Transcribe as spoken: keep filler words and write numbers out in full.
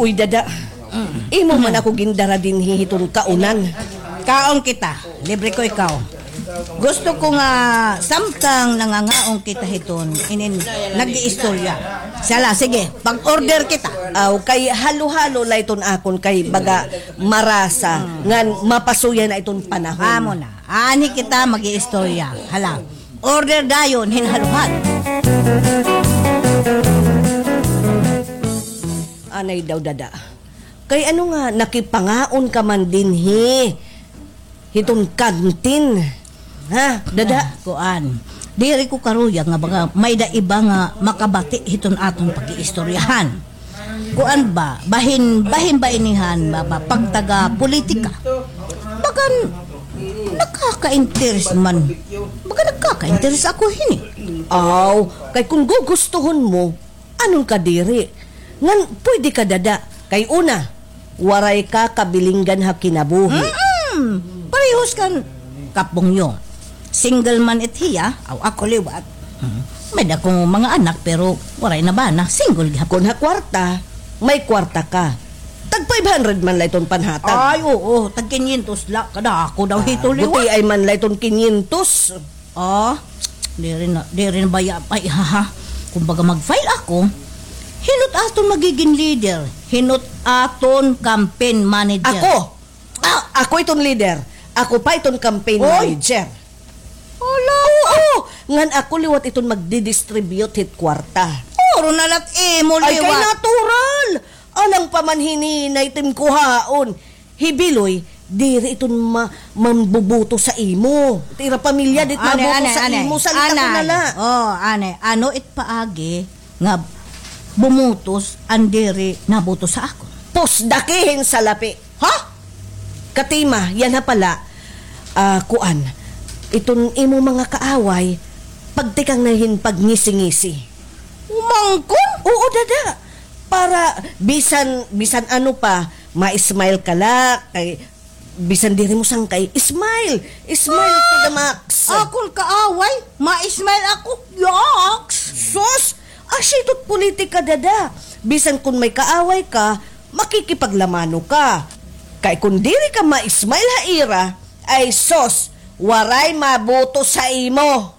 Uy, dada. Imo man ako gindara dinhi hiton kaunan. Kaon kita. Libre ko ikaw. Gusto ko nga samtang nangangaon kita hiton, inin nag-iistorya. Sala, sige, pag-order kita. Aw, kay halo-halo la iton akon kay baga marasa ngan mapasuya na iton panahon. Amo na. Ani kita mag-iistorya. Hala, order dayon hin halo-halo. Anay daw, dada. Kay ano nga nakipangaon ka man dinhi hiton kantin? Ha, dada? Ah, kuan. Diri ko karuyag nga baga may-ada iba nga makabati hiton aton pag-iistoryahan. Kuan ba, bahin, bahin ba ini han ba, ba, pagtaga-politika? Bagan nakaka-interes man. Baga nakaka-interes ako hini. Aw, kay kon gugustuhon mo, anon ka diri? Ngan pwede ka, dada. Kay una, waray ka kabilinggan ha kinabuhi. Mm-mm. Parehos kan Kap Bongyo. Single man it hiya, aw ako liwat. Mm. May-ada ko mga anak, pero waray na bana. Single gihapon. Kon ha kwarta, may kwarta ka. Tag five hundred man la iton panhatag. Ay, oo. Tag kinyentos la. Kadako daw hito liwat. Gutiay man la iton kinyentos. Ah, diri na, diri na baya, ay, ha, ha. Kumbaga mag-file ako, hin-o it aton magigin leader, hin-o it aton campaign manager. Ako! Ah! Ako iton leader. Ako pa iton campaign manager. Hala! Oo! Ngan ako liwat iton magdi-distribute hit kwarta. Puro na la it imo liwat. Ay, kay natural! Alang pa man hini na iton kuhaon. Hi Biloy, diri iton ma-, mambuboto sa imo. It ira pamilya, di it maboto sa imo, salita ko na la. Oh, anay. Ano it paagi nga bumutos an diri naboto sa akon? Pusdaki hin salapi. Ha? Katima, yana pala, ah, kuan, iton imo mga kaaway, pagtikang na hin pagngisi-ngisi. Umangkon? Oo, dada. Para bisan, bisan ano pa, ma-smile ka la, kay bisan diri mo sangkay, smile. Smile to the max. Akon kaaway, ma-smile ako. Yaks! Sus! Asya ito it politika, dada. Bisan kon may kaaway ka, makikipaglamano ka. Kay kon diri ka ma-smile ha ira, ay sus, waray maboto sa imo.